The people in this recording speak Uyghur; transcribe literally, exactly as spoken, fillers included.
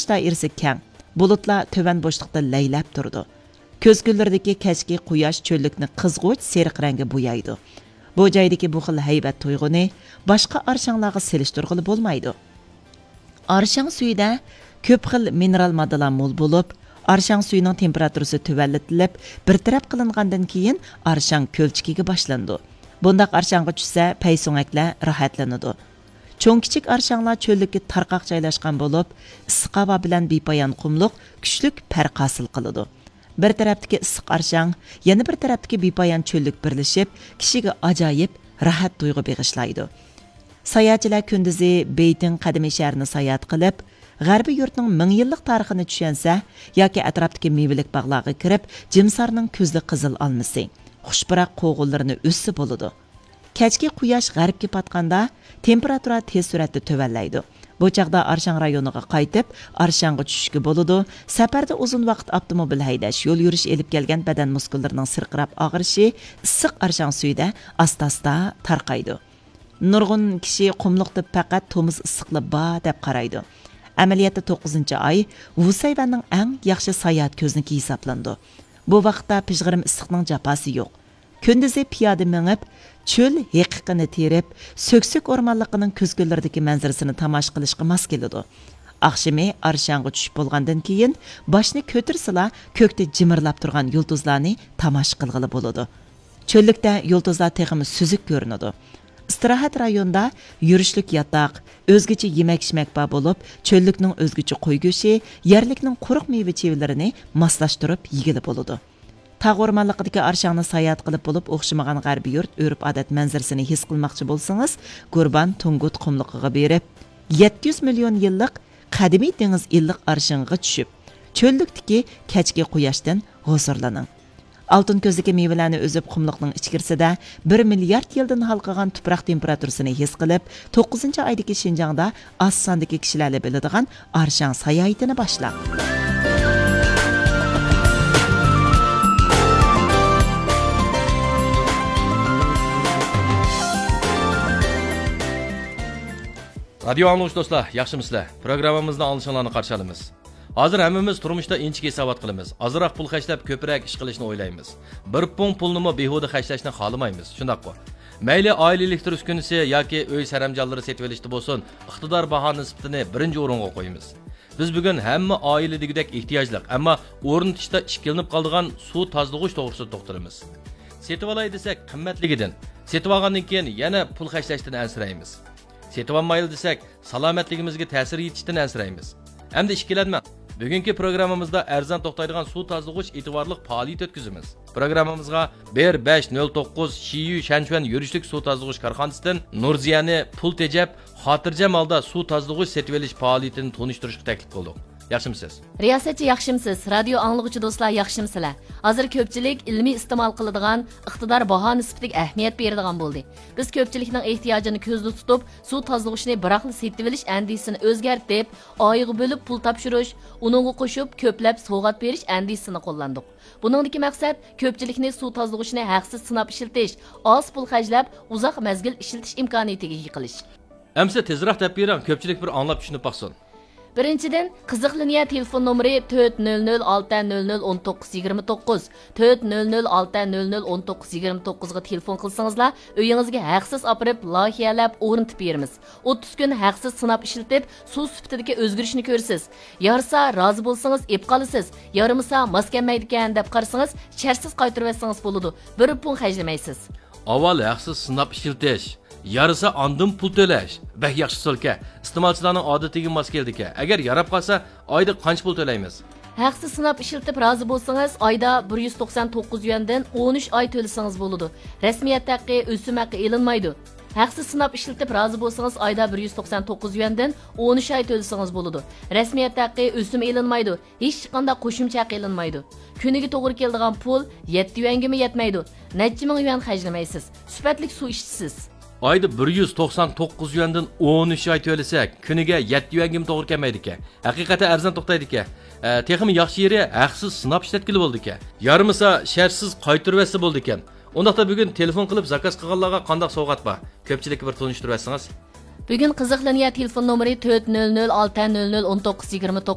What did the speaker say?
دائىرىسى كەڭ، بۇلۇتلار تۆۋەن بوشلۇقتا لەيلەپ تۇرىدۇ. كۈز كۈنلىرىدىكى كەچكى قۇياش چۆللۈكنى قىزغۇچ سېرىق رەڭگە بويايدۇ. بۇ جايدىكى بۇ خىل ھەيۋەت تۇيغۇنى باشقا ئارشاڭلارغا سېلىشتۇرغىلى بولمايدۇ. ئارشاڭ سۈيىدە كۆپ خىل مىنېرال ماددىلار مول بولۇپ، ئارشاڭ سۈيىنىڭ تېمپېراتۇرىسى تۆۋەنلىتىلىپ، بىر تەرەپ قىلىنغاندىن كېيىن ئارشاڭ كۆلچىكىگە باشلىنىدۇ. بۇنداق ئارشاڭغا چۈشسە، پەيسۆڭەكلەر راھەتلىنىدۇ. چوڭ كىچىك ئارشاڭلار چۆللۈككە تارقاق جايلاشقان بولۇپ، ئىسسىق ھاۋا بىلەن بىپايان قۇملۇق كۈچلۈك پەرق ھاسىل قىلىدۇ. بىر تەرەپتىكى ئىسسىق ئارشاڭ، يەنە بىر تەرەپتىكى بىپايان چۆللۈك بىرلىشىپ، كىشىگە ئاجايىپ راھەت تۇيغۇ بېغىشلايدۇ. ساياھەتچىلەر كۈندۈزى بېيتىڭ قەدىمىي شەھىرىنى ساياھەت قىلىپ، غەربىي يۇرتنىڭ مىڭ يىللىق تارىخىنى چۈشەنسە ياكى ئەتراپتىكى مېۋىلىك باغلارغا كىرىپ، جىمسارنىڭ كۈزلۈك قىزىل ئالمىسى، خۇش پۇراق قوغۇنلىرىنى ئۈزسە بولىدۇ. كەچكى قۇياش غەربكە پاتقاندا، تېمپېراتۇرا تېز سۈرئەتتە تۆۋەنلەيدۇ. بۇ چاغدا ئارشاڭ رايونىغا قايتىپ، ئارشاڭغا چۈشۈشكە بولىدۇ. سەپەردە ئۇزۇن ۋاقىت ئاپتوموبىل ھەيدەش، يول يۈرۈش ئېلىپ كەلگەن بەدەن مۇسكۇللىرىنىڭ سىرقىراپ ئاغرىشى ئىسسىق ئارشاڭ سۈيىدە ئاستا-ئاستا تارقايدۇ. نۇرغۇن كىشى قۇملۇقتا پەقەت تومۇز ئىسسىقلا بار دەپ قارايدۇ. ئەمەلىيەتتە توققۇزىنچى ئاي ۋۇسەيۋەننىڭ ئەڭ ياخشى ساياھەت كۆزنىكى ھېسابلىنىدۇ. بۇ ۋاقىتتا پىژغىرىم ئىسسىقنىڭ جاپاسى يوق. كۈندۈزى پىيادە مېڭىپ، چۆل ھېقىقىنى تېرىپ، سۆكسۆك ئورمانلىقىنىڭ كۈز كۈنلىرىدىكى مەنزىرىسىنى تاماشا قىلىشقا ماس كېلىدۇ. ئاخشىمى ئارشاڭغا چۈشۈپ بولغاندىن كېيىن، باشنى كۆتۈرسىلا، كۆكتە جىمىرلاپ تۇرغان يۇلتۇزلارنى تاماشا قىلغىلى بولىدۇ. چۆللۈكتە يۇلتۇزلار تېخىمۇ سۈزۈك كۆرۈنىدۇ. ئىستىراھەت رايونىدا يۈرۈشلۈك ياتاق، ئۆزگىچە يېمەك-ئىچمەك بار بولۇپ، چۆللۈكنىڭ ئۆزگىچە قوي گۆشى، يەرلىكنىڭ قۇرۇق مېۋە-چېۋىلىرىنى ماسلاشتۇرۇپ يېگىلى بولىدۇ. تاغ ئورمانلىقىدىكى ئارشاڭنى ساياھەت قىلىپ بولۇپ ئوخشىمىغان غەربىي يۇرت ئۆرپ-ئادەت مەنزىرىسىنى ھېس قىلماقچى بولسىڭىز، گۇربان تۇڭگۇت قۇملۇقىغا بېرىپ، يەتتە يۈز مىليون يىللىق قەدىمىي دېڭىز ئىللىق ئارشىڭىغا چۈشۈپ، چۆللۈكتىكى كەچكى قۇياشتىن ھۇزۇرلىنىڭ. ئالتۇن كۆزدىكى مېۋىلەرنى ئۈزۈپ، قۇملۇقنىڭ ئىچكىرىسىدە بىر مىليارد يىلدىن ھالقىغان تۇپراق تېمپېراتۇرىسىنى ھېس قىلىپ، توققۇزىنچى ئايدىكى شىنجاڭدا ئاز ساندىكى كىشىلەرلا بىلىدىغان ئارشاڭ ساياھىتىنى باشلاڭ. رادىيو ئاڭلىغۇچى دوستلار، ياخشىمۇسىلەر؟ پروگراممىمىزنى ئاڭلىشىڭلارنى قارشى ئالىمىز. ھازىر ھەممىمىز تۇرمۇشتا ئىنچىكە ھېسابات قىلىمىز. ئازراق پۇل خەجلەپ، كۆپرەك ئىش قىلىشنى ئويلايمىز. بىر پۇڭ پۇلنىمۇ بىھۇدە خەجلەشنى خالىمايمىز. شۇنداققۇ؟ مەيلى ئائىلە ئېلېكتر ئۈسكۈنىسى ياكى ئۆي سەرەمجانلىرى سېتىۋېلىشتا بولسۇن، ئىقتىدار باھا نىسبىتىنى بىرىنچى ئورۇنغا قويىمىز. بىز بۈگۈن ھەممە ئائىلە دېگۈدەك ئېھتىياجلىق، ئەمما ئورنىتىشتا ئىككىلىنىپ قالىدىغان سۇ تازىلىغۇچ توغرىسىدا توختىلىمىز. سېتىۋالاي دېسەك، قىممەتلىكىدىن، سېتىۋالغاندىن كېيىن يەنە پۇل خەجلەشتىن ئەنسىرەيمىز. سېتىۋالمايلى دېسەك، سالامەتلىكىمىزگە تەسىر يېتىشتىن ئەنسىرەيمىز. ئەمدى ئىككىلەنمەڭ. بۈگۈنكى پروگراممىمىزدا ئەرزان توختايدىغان سۇ تازىلىغۇچ ئېتىۋارلىق پائالىيىتى ئۆتكۈزىمىز. پروگراممىمىزغا بىر بەش نۆل توققۇز شىيۈ شەنشۈەن يۈرۈشلۈك سۇ تازىلىغۇچ كارخانىسىدىن نۇرزىيەنى پۇل تېجەپ، خاتىرجەم ھالدا سۇ تازىلىغۇچ سېتىۋېلىش پائالىيىتىنى تونۇشتۇرۇشقا تەكلىپ قىلدۇق. ياخشىمۇسىز؟ رىياسەتچى، ياخشىمۇسىز؟ رادىيو ئاڭلىغۇچى دوستلار، ياخشىمۇسىلەر؟ ھازىر كۆپچىلىك ئىلمىي ئىستېمال قىلىدىغان، ئىقتىدار باھا نىسبىتىگە ئەھمىيەت بېرىدىغان بولدى. بىز كۆپچىلىكنىڭ ئېھتىياجىنى كۆزدە تۇتۇپ، سۇ تازىلىغۇچنى بىراقلا سېتىۋېلىش ئەندىزىسىنى ئۆزگەرتىپ، ئايغا بۆلۈپ پۇل تاپشۇرۇش، ئۇنىڭغا قوشۇپ كۆپلەپ سوۋغات بېرىش ئەندىزىسىنى قوللاندۇق. بۇنىڭدىكى مەقسەت كۆپچىلىكنى سۇ تازىلىغۇچنى ھەقسىز سىناپ ئىشلىتىش، ئاز پۇل خەجلەپ، ئۇزاق مەزگىل ئىشلىتىش ئىمكانىيىتىگە ئىگە قىلىش. ئەمىسە تېزراق دەپ بېرىڭ، كۆپچىلىك بىر ئاڭلاپ چۈشىنىپ باقسۇن. بىرىنچىدىن، قىزىق لىنىيە تېلېفون نومۇرى تۆت نۆل نۆل ئالتە نۆل نۆل ئون توققۇز يىگىرمە توققۇز، تۆت نۆل نۆل ئالتە نۆل نۆل ئون توققۇز يىگىرمە توققۇزغا تېلېفون قىلسىڭىزلا، ئۆيىڭىزگە ھەقسىز ئاپىرىپ، لايىھەلەپ ئورنىتىپ بېرىمىز. ئوتتۇز كۈن ھەقسىز سىناپ ئىشلىتىپ، سۇ سۈپىتىدىكى ئۆزگىرىشنى كۆرىسىز. يارىسا، رازى بولسىڭىز ئېپ قالىسىز، يارىمىسا، ماس كەلمەيدىكەن دەپ قارىسىڭىز، شەرتسىز قايتۇرۇۋەتسىڭىز بولىدۇ، بىر پۇڭ خەجلىمەيسىز. ئاۋۋال ھەقسىز سىناپ ئىشلىتىش، يارىسا ئاندىن پۇل تۆلەش. بەك ياخشى ئۇسۇلكەن. ئىستېمالچىلارنىڭ ئادىتىگە ماس كېلىدىكەن. ئەگەر ياراپ قالسا، ئايدا قانچە پۇل تۆلەيمىز؟ ھەقسىز سىناپ ئىشلىتىپ رازى بولسىڭىز، ئايدا بىر يۈز توقسان توققۇز يۈەندىن ئون ئۈچ ئاي تۆلىسىڭىز بولىدۇ. رەسمىيەت ھەققى، ئۆسۈم ھەققى ئېلىنمايدۇ. ھەقسىز سىناپ ئىشلىتىپ رازى بولسىڭىز، ئايدا بىر يۈز توقسان توققۇز يۈەندىن ئون ئۈچ ئاي تۆلىسىڭىز بولىدۇ. رەسمىيەت ھەققى، ئۆسۈم ئېلىنمايدۇ. ھېچقانداق قوشۇمچە ھەق ئېلىنمايدۇ. كۈنىگە توغرا كېلىدىغان پۇل يەتتە يۈەنگىمۇ يەتمەيدۇ. نەچچە مىڭ يۈەن خەجلىمەيسىز. سۈپەتلىك سۇ ئىچىسىز. ئايدا بىر يۈز توقسان توققۇز يۈەندىن ئون ئۈچ ئاي تۆلىسەك، كۈنىگە يەتتە يۈەنگىمۇ توغرا كەلمەيدىكەن. ھەقىقەتەن ئەرزان توختايدىكەن. ئە، تېخىمۇ ياخشى يېرى، ھەقسىز سىناپ ئىشلەتكىلى بولىدىكەن. يارىمىسا، شەرتسىز قايتۇرۇۋەتسە بولىدىكەن. ئۇنداقتا بۈگۈن تېلېفون قىلىپ زاكاز قىلغانلارغا قانداق سوۋغات بار؟ كۆپچىلىككە بىر تونۇشتۇرۇۋەتسىڭىز. بۈگۈن قىزىق لىنىيە تېلېفون نومۇرى تۆت نۆل نۆل ئالتە نۆل نۆل ئون توققۇز يىگىرمە توققۇز.